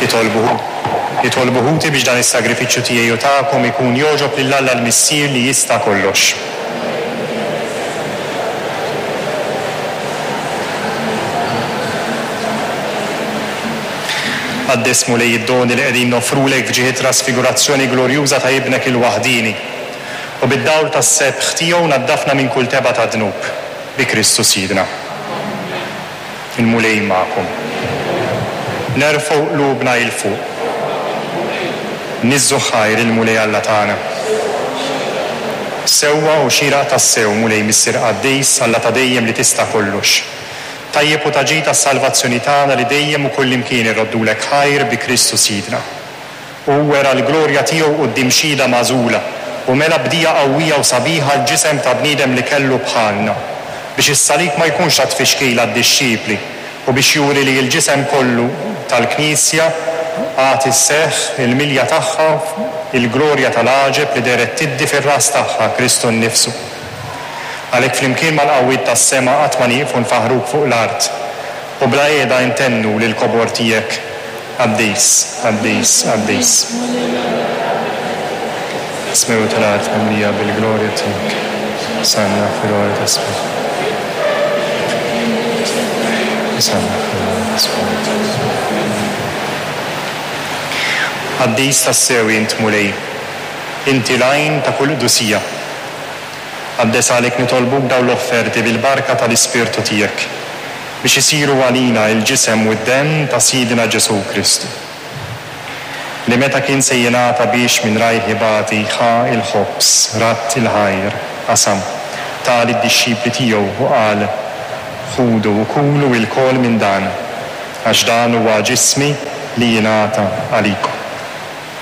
Itolbu Itolbu ħuti biex dan is-sagrifiċċju tiegħi u tagħkom ikun jogħġob lil Alla l-Missier li jista' kollox. Qaddes Mulej id-doni li qegħdin noffrulek f'ġieħ it-trasfigurazzjoni glorjuża ta' Ibnek il-waħdieni, u bid-dawl tas-sebħ tiegħu naddafna minn kull tebgħa ta' dnub. Bi Kristu Sidna. Il-Mulej magħkom. Nerfgħu qlubna 'il fuq. Niżżu ħajr il-Mulej Alla tagħna. Sewwa u xieraq tassew, Mulej Missier qaddis, Alla ta' dejjem li tista' kollox. Tajjeb u ta' ġid għas-salvazzjoni tagħna li dejjem u kullimkien irroddulek ħajr bi Kristu Sidna. Hu wera l-glorja tiegħu quddiem xhieda magħżula, u mela b'dija qawwija u sabiħa l-ġisem ta' bniedem li kellu bħalna, biex is-salib ma jkunx ta' tfixkil għad-dixxipli, u biex juri li l-ġisem kollu tal-Knisja għad isseħħ il-milja tagħha il-glorja tal-għaġeb li dehret tiddi fir-ras tagħha, Kristu nnifsu. Għalhekk flimkien mal-qawwiet tas-sema qatt ma nieqfu nfaħħruk fuq l-art, u bla qiegħda intennu lill-kobor tiegħek. Qaddis, qaddis, qaddis. Is-smewwiet u l-art mimlija bil-glorja tiegħek. Osanna fil-għoli tas-smewwiet. Osanna fil-għoli tas-smewwiet. Qaddis tassew int, Mulej. Inti l-għajn ta' kull qdusija. Qaddes għalhekk nitolbuk dawn l-offerti bil-barka tal-Ispirtu tiegħek. Biex isiru għalina il-ġisem u d-demm ta' Sidna Ġesù Kristu. Li meta kien se jingħata biex minn rajh ibati ħa l-ħobż, radd il-ħajr, qasam, ta lid-dixxipli tiegħu u qal, Ħudu u kulu ilkoll minn dan, għax dan huwa ġismi li jingħata għalikom.